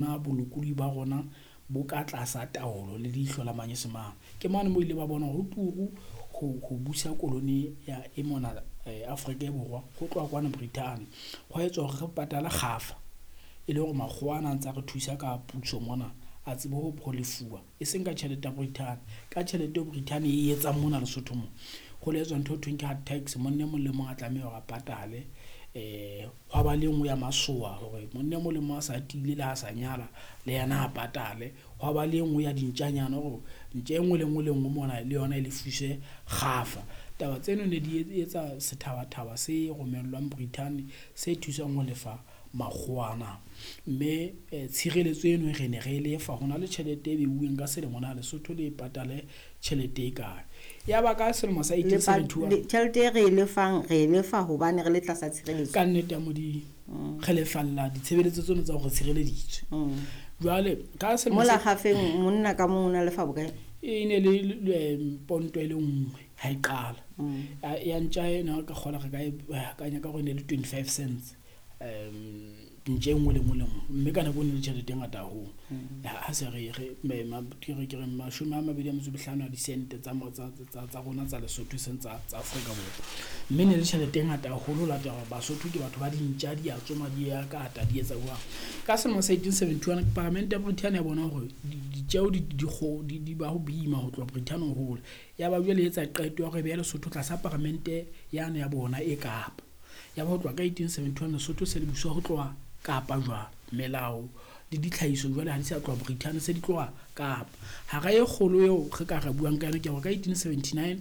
Na bolokolohi ba rona bo ka tlasa taolo le leihlo la Manyesemane. Ke mane moo ile ba bona ho turu ho busa koloni ya e mona Afrika e Borwa ho tloha kwana Brithani. Hwa etswa hore re patale kgafa e le hore makgowa ana a ntsa re thusa ka puso mona a tsebe ho lefuwa, e seng ka tjhelete ya Brithani, ka tjhelete eo Brithani e etsang mona Lesotho mona. Ho lo etswa ntho e thweng ke hard tax, monna e mong le mong a tlameha hore a patale. Hwa ba le e nngwe ya masowa hore monna e mong le mong a sa tiile le ha sa nyala le yena a patale. Hwa ba le e nngwe ya dintjanyana hore ntja e nngwe le nngwe le nngwe mona le yona e lefiswe kgafa. Taba tseno ne di etsa sethabathaba se romellwang Brithani se thusang ho lefa makgowa ana. Mme tshireletso eno re ne re e lefa, ho na le tjhelete e beuweng ka selemo na Lesotho le e patale tjhelete e kae. Ya ba ka selemo sa 1871 Tjhelete e re e lefang re e lefa hobane re le tlasa tshireletso. Ka nnete ya Modimo re lefalla ditshebeletso tseno tsa hore tshireleditswe. Jwale ka selemo Mola kgafeng monna ka mong o na lefa bokae? E ne le ponto e le nngwe ha e qala. Ya ntja ena ka kgola re ka e akanya ka hore e ne le 25 cents. Ntja e nngwe le nngwe le nngwe, mme ka nako e ne le tjhelete e ngata haholo. Ha se re re ke re ke re 25 a disente tsa tsa rona tsa Lesotho, e seng tsa Afrika Borwa. Mme ne le tjhelete e ngata haholo ho latela hore Basotho ke batho ba dintja, di a tsoma, di ya kata, di etsa jwang. Ka selemo sa 1871 paramente ya Brithani ya bona hore ditjeo di ba ho boima ho tloha Brithani ho hole. Ya ba jwale e etsa qeto ya hore e behe Lesotho tlasa paramente yane ya bona e Kapa. Ya ba ho tloha ka 1871 Lesotho se le buswa ho tloha Kapa jwale. Melao le ditlhahiso jwale ha di sa tloha Brithani, se di tloha Kapa. Hara e kgolo eo re ka re buang ka yona ke hore ka 1879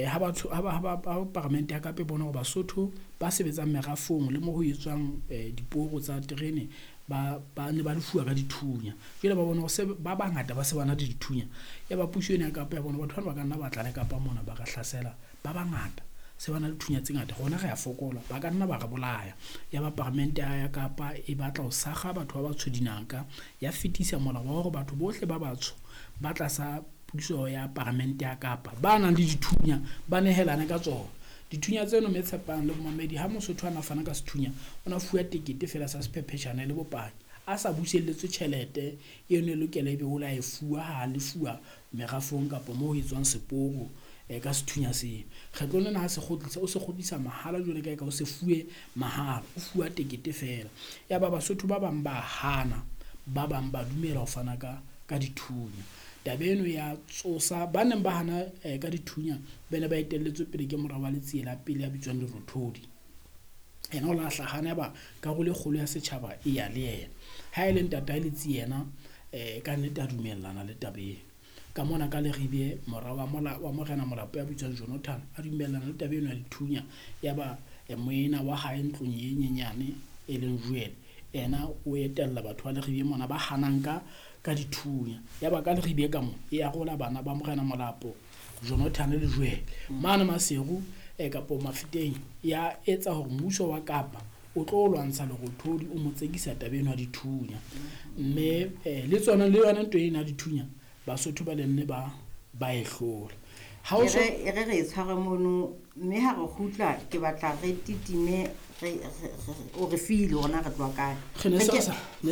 ha batho ha ba paramente ya Kapa e bona hore Basotho ba sebetsang merafong le mo ho etswang diporo tsa terene ba ne ba lefuwa ka dithunya. Jwale ba bona hore se ba bangata ba se ba na le dithunya. Ya ba puso ena ya Kapa ya bona batho bana ba ka nna ba tla le Kapa mona ba re hlasela ba bangata, se ba na le thunya tse ngata, rona re a fokola, ba ka nna ba re bolaya. Ya ba paramente ya Kapa e batla ho sakga batho ba batsho dinaka, ya fetisa molao wa hore batho bohle ba batsho ba tlasa puso ya paramente ya Kapa ba nang le dithunya ba nehelane ka tsona. Dithunya tseno mme Tshepang le momamedi, ha Mosotho a na fana ka sethunya, o na fuwa tekete fela sa sephepheshane le bopaki, a sa buselletswe tjhelete eno e lokela ebe o la e fuwa ha lefuwa merafong kapa moo ho etswang seporo ka sethunya seo. Kgetlong lena ha se kgutlisa, o se kgutlisa mahala jwale ka eka o se fuwe mahala, o fuwa tekete fela. Ya ba Basotho ba bang ba hana, ba bang ba dumela ho fana ka dithunya. Taba eno ya tsosa ba neng ba hana ka dithunya, ba ne ba etelletswe pele ke mora wa Letsie la pele ya bitswang Lerothodi. Yena o la hlahana ya ba karolo e kgolo ya setjhaba e ya le yena. Ha e le ntatae Letsie yena ka nnete a dumellana le taba eno. Ka mona ka Leribe mora wa wa morena Molapo ya bitswang Jonathan a dumellana le taba eno ya dithunya. Ya ba moena wa hae ntlong e nyenyane e leng Joel, yena o etella batho ba Leribe mona ba hanang ka dithunya. Ya ba ka Leribe ka mo e arola bana ba morena Molapo, Jonathan le Joel. Mane Maseru kapo Mafeteng ya etsa hore mmuso wa Kapa o tlo lwantsha Lerothodi, o mo tsekisa taba eno ya dithunya. Mme le tsona le yona ntwa ena ya dithunya Basotho ba lenne ba e hlola. Ha o so E re re tshware mono, mme ha re kgutla ke batla re titime re o re file hona re tloha kae. Re ne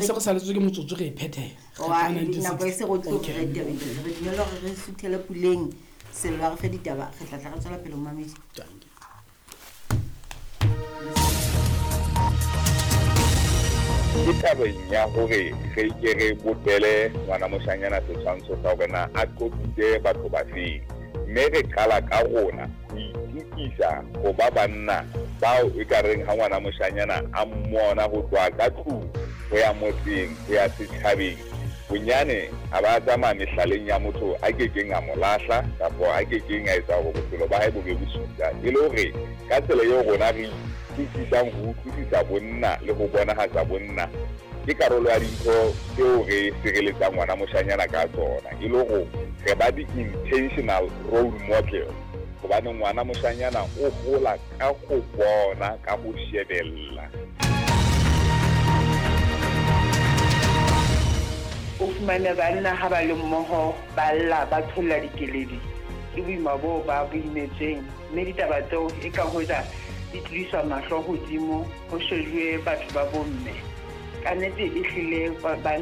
se re saletswe ke motsotso re e phethela. Wa nako e se go tlo re re dumela hore re suthele puleng Sello a re fe ditaba, re tla tla re tswela pele ho mamedi. Ke tabeng ya hore re ke re bopele ngwana moshanyana setshwantsho sa hore na a qoqitse batho ba feng, mme re qala ka rona ho itukisa ho ba banna bao e ka reng ha ngwana moshanyana a mmona ho tloha ka tlung ho ya motseng ho ya setjhabeng, bonyane a ba tsamaya mehlaleng ya motho a kekeng a mo lahla kapa a kekeng a etsa hore bophelo ba hae bo be bosula. E le hore ka tsela eo rona re itukisang ho utlwisisa bonna le ho bonahatsa bonna, ke karolo ya dintho tseo re sireletsang ngwana moshanyana ka tsona, e le hore re ba di-intentional role model, hobane ngwana moshanyana o hola ka ho bona, ka ho shebella. O fumane banna ha ba le mmoho ba lla ba tsholla dikeledi ke boima boo ba bo imetsweng, mme ditaba tseo e ka hoja di tlodiswa mahlo hodimo ho shejuwe batho ba bomme. Ka nnete e hlile banna